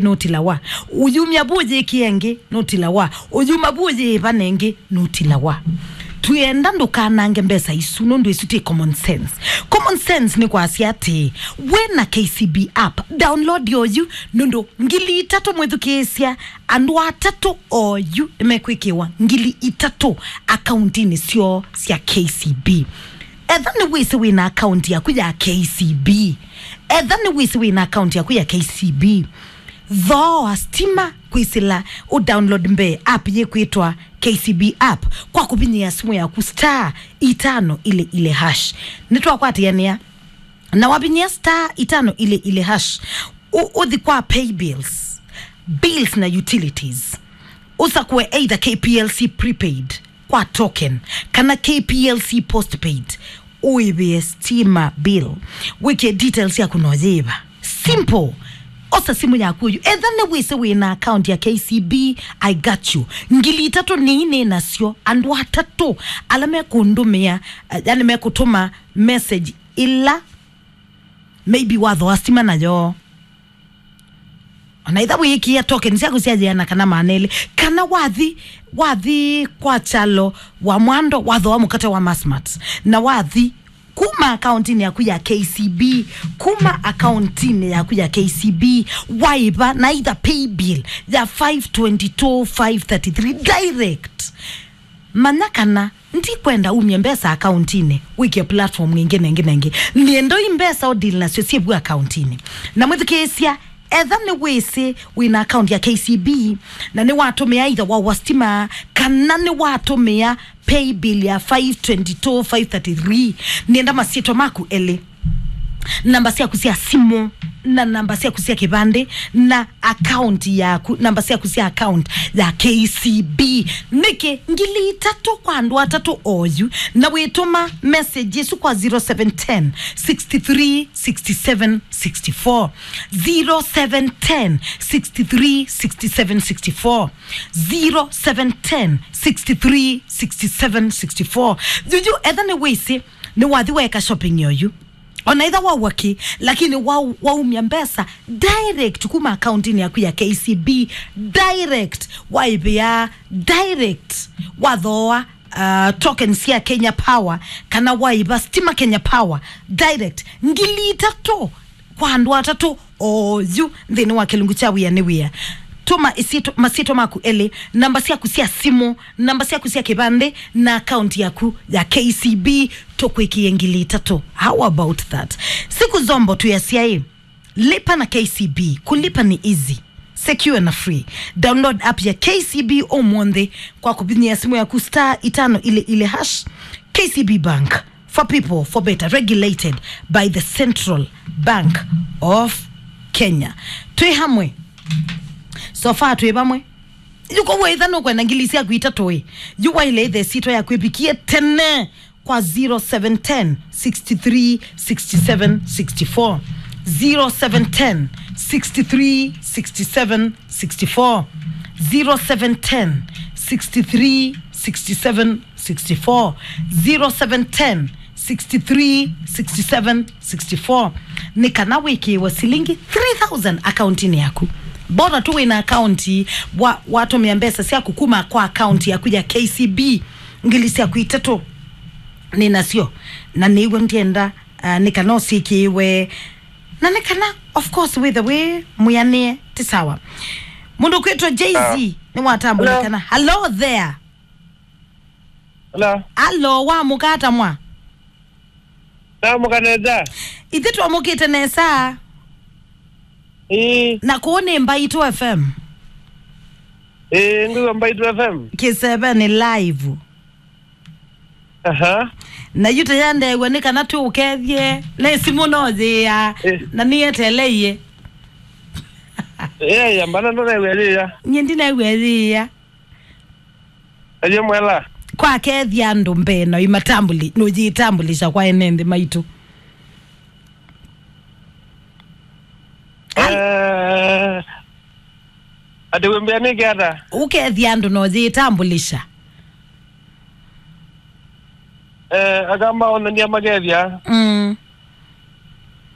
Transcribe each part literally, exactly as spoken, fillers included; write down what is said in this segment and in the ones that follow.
nũtilawa. Ũyumya vu ũyĩkĩe ĩngĩ, nũtilawa. Ũyuma vu ũyĩĩva na ĩngĩ, nũtilawa. Twĩenda ndũkanange mbesa isu, nũndũ isu ti common sense. Common sense nĩ kwasya atĩ, wĩ na K C B app, download oyu, nũndũ ngili itatũ mwĩthukĩĩsya, andũ atatũ oyu nĩmekwĩkĩwa ngili itatũ akauntinĩ syoo sya K C B. Etha nĩwĩsĩ wĩ na akaunti yaku ya K C B. Etha nĩwĩsĩ wĩ na akaunti yaku ya K C B. Thooa stima kwĩsĩla ũ download mbee app yĩkwĩtwa K C B app kwa kũvinyĩa simũ yaku star itano ile ile hash. Nĩtwakwatĩanĩa. Na wavinyĩa star itano ile ile hash, ũ-, ũthi kwa pay bills, bills na utilities. Ũsakũe either K P L C prepaid kwa token kana K P L C postpaid. Ũĩvĩe stima bill. Wĩkĩe details yaku na ũyĩva. Simple. Osa simũ yaku ũyu. Etha nĩwĩsĩ wĩ na account ya K C B, I got you. Ngili itatũ nĩ nasyo. Andũ atatũ ala mekũndũmĩa, eh, yani mekũtũma message ĩla maybe wathoa stima nayo. Ona itha wĩĩkĩĩa token syaku sya yĩana kana maana elĩ, kana wathi, wathi kwa kyalo wa mwando wathoa mũkate wa Masmart, na wathi kuma akauntinĩ yaku ya K C B, kuma akauntinĩ yaku ya K C B, waĩva na either pay bill ya five twenty-two five thirty-three direct. Manya kana ndikwenda umye mbesa akauntinĩ, wĩkĩe platform ĩngĩ na ĩngĩ na ĩngĩ. Nĩenda i mbesa ũ deal nasyo syĩ vu akauntinĩ. Na mwĩthukĩĩsya, etha nĩwĩsĩ wĩ na account ya K C B, na nĩwatũmĩa either wa wa stima, kana nĩwatũmĩa pay bill ya five twenty-two five thirty-three, nĩenda masyĩtwa maku elĩ, namba syaku sya simũ, na namba syaku sya kĩvandĩ, na account yaku, namba syaku sya account ya K C B. Nĩkĩ ngili itatũ kwa andũ atatũ oyu, na wĩtũma message ĩsu kwa zero seven ten, sixty-three, sixty-seven, sixty-four, zero seven ten, sixty-three, sixty-seven, sixty-four, zero seven ten, sixty-three, sixty-seven, sixty-four. Yuyu, etha nĩwĩsĩ nĩwathi weka shopping yoyu, ona itha waua kĩ, lakini wa-, waumya mbesa direct kuma akauntinĩ yaku ya K C B, direct waĩvĩa, direct wathoa, uh, token sya Kenya Power, kana waĩva stima Kenya Power direct, ngili itatũ kwa andũ atatũ oyu nthĩnĩ wa kĩlungu kya wĩa nĩ wĩa. Tũma ĩsyĩtwa, masyĩtwa maku elĩ, namba syaku sya simũ, namba syaku sya kĩvandĩ, na akaunti yaku ya K C B, tũkwĩkĩe ngili itatũ. How about that? Siku Zombo twĩasya ĩ, lipa na K C B, kulipa ni easy, secure na free. Download app ya K C B ũmũnthĩ kwa kũvinyĩa simũ yaku star itano ile ile hash. K C B Bank, for people, for better, regulated by the Central Bank of Kenya. Twĩ hamwe. So far twĩ vamwe. Yu kwa wetha nũkwenda ngili syaku itatũ ĩ, yu waile ĩthe sitwa yaku ĩvikie tene kwa zero seven ten, sixty-three, sixty-seven, sixty-four. Zero seven ten, sixty-three, sixty-seven, sixty-four. Zero seven ten, sixty-three, sixty-seven, sixty-four. Zero seven ten, sixty-three, sixty-seven, sixty-four. Nĩ kana wĩkĩĩwe silingi three thousand akauntinĩ yaku. Bora tu wĩna akaunti, wa-, watũmĩa mbesa syaku kuma kwa akaunti yaku ya K C B. Ngili syaku itatũ nĩ nasyo, na nĩw'o ndienda, uh, nĩ kana ũsyĩkĩĩwe, na nĩ kana, of course, wĩthe wĩ mwĩanĩe, ti sawa. Mũndũ kwĩtwa Jay-Z nĩwatambũlĩkana. Hello there. Hello. Hello, wamũka ata mwa? Namũka nesa. Ithyĩ twamũkĩte nesa. Ĩĩ. Na kũũ nĩ Mbaitũ F M. Ĩĩ, ngwĩw'a Mbaitũ F M. Kĩseve nĩ live. Aha. Na yu tayandew'a nĩ kana tũũkethye. Na simũ no yĩĩa. Ĩĩ. Na nĩyeteleie. Ĩĩ, yambana ndũnew'a yĩĩa. Nyie ndinew'a yĩĩa. Aje mwela. Kwa kethia andũ mbee na imatambuli, nũyĩtambulisha kwa ene nthĩ maitũ. Al- Eh, ati wĩmbĩa nĩkĩ ata? Ũkethia andũ na ũyĩtambulisha. Eh, akamba onania makethia. Mm.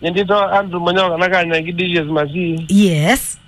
Nyendito Andrew Manyoka na kanya kidishes masi. Yes.